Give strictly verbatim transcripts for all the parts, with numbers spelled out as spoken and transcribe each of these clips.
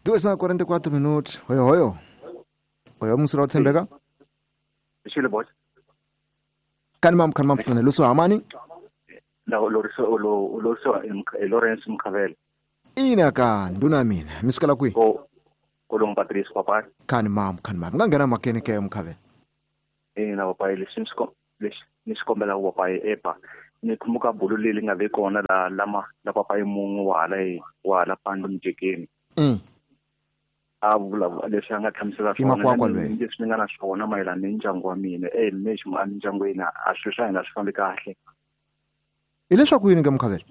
Duas na quarenta e quatro minutos. Hoyo hoyo. Hoyo msura uthembeka. Shile boss. Kani mam kani mam funa luso amani? La Loriso lo Loriso Lawrence Mkhavela. Ina ka nduna mina. Misukela kwi? Ko Kolong Patrice papa. Kani mam kani mam. Ngangena makene ke Mkhavela. Ina papa lesinsko nisikombela papa epa. Nikhumbuka bulu leli ngabe kona la lama la papa mungu wala wala pando mjekeni. Mm. A vula leswi a nga hlamusela swona leswi ni nga na swona mayelana ni ndyangu wa mina eh lexi mu endyangwini a swi swa hina swi fambi kahle. Hileswaku yini ke Mkhavela?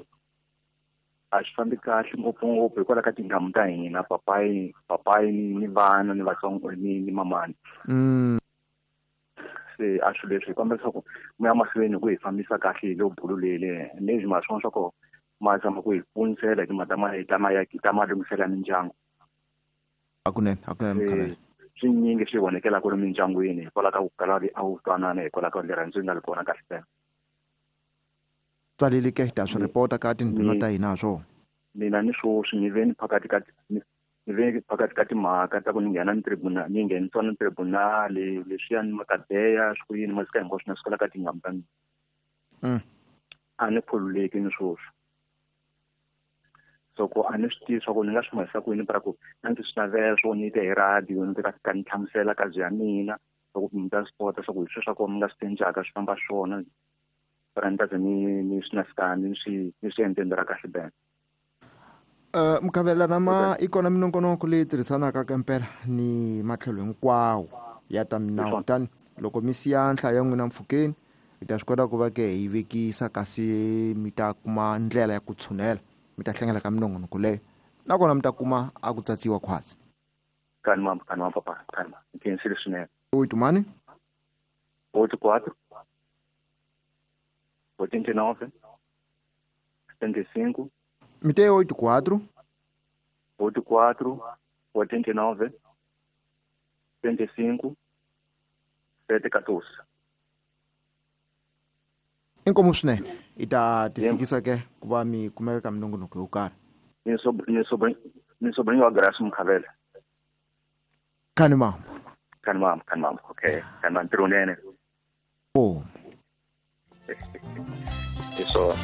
A swi fambi kahle ngopfungopfu hikwalaho ka tinghamu ta hina papayi papayi ni vana ni vatsongo ni ni mamani. Mm. Se a swi leswi hi kombela leswaku mi ya mahlweni ku hi fambisa kahle hi lo bulu leli leswi ma swona swa ku ma zama ku hi pfunisela hi timhaka ta ma ta ma ya ta malunghiselo ya mindyangu. Akunene akunene Mkhavela. Swinyingi swi vonekela ku ri mindyangwini hikwalaho ka ku kala a wu twanana hikwalaho ka rirhandzu nga ri kona kahle fela. Tsaleli ke ta swi report ka tindhuna ta hina swo. Mina ni swoswi ni ve ni phakathi ka ni ve phakathi ka timhaka ta ku ni nghena ni tribunal ni nghenisiwa ni tribunal leswiya ni makadeya swi ku yini masika hinkwaswo na swi ka tinghamu ta mina. Mm. A ni khululeki ni swoswi. So ko a ni swi tivi swa ku ni nga swi mahisa ku yini para ku a ndzi swi navela swo ni te hi radio ni ta fika ni hlamusela ka bya mina swa ku mi ta swi kota swa ku hi swilo swa ku mi nga swi cincaka swi famba swona para ni ta ze ni ni swi na fika ni swi ni swi endleni ra kahle bene. Uh, Mkhavela nama ikona minongonoko leyi tirhisanaka ka mpela ni matlhelo hinkwawo ya ta minawu kutani loko mi siya nhlayo ya n'wina mpfhukeni hi ta swi kota ku va ke hi vekisa kasi mi ta kuma ndlela ya ku tshunela mi ta hlangela ka minongonoko leyo nakona mi ta kuma a ku tsatsiwa khwatsi. Kani mam kani mam papa kani mam nkhensile swinene. Oito mani? Oito quatro oitenta e nove setenta e cinco. Mi te oito quatro oito quatro oitenta e nove setenta e cinco sete quatorze. Inkomu swinene i ta tifikisa ke ku va mi kumeka ka minongonoko yo karhi. Ni sobrinho ni sobrinho wa Grace Mkhavela. Kani mam. Kani mam kani mam okay kani mam ntirho nene. Oh. Isso.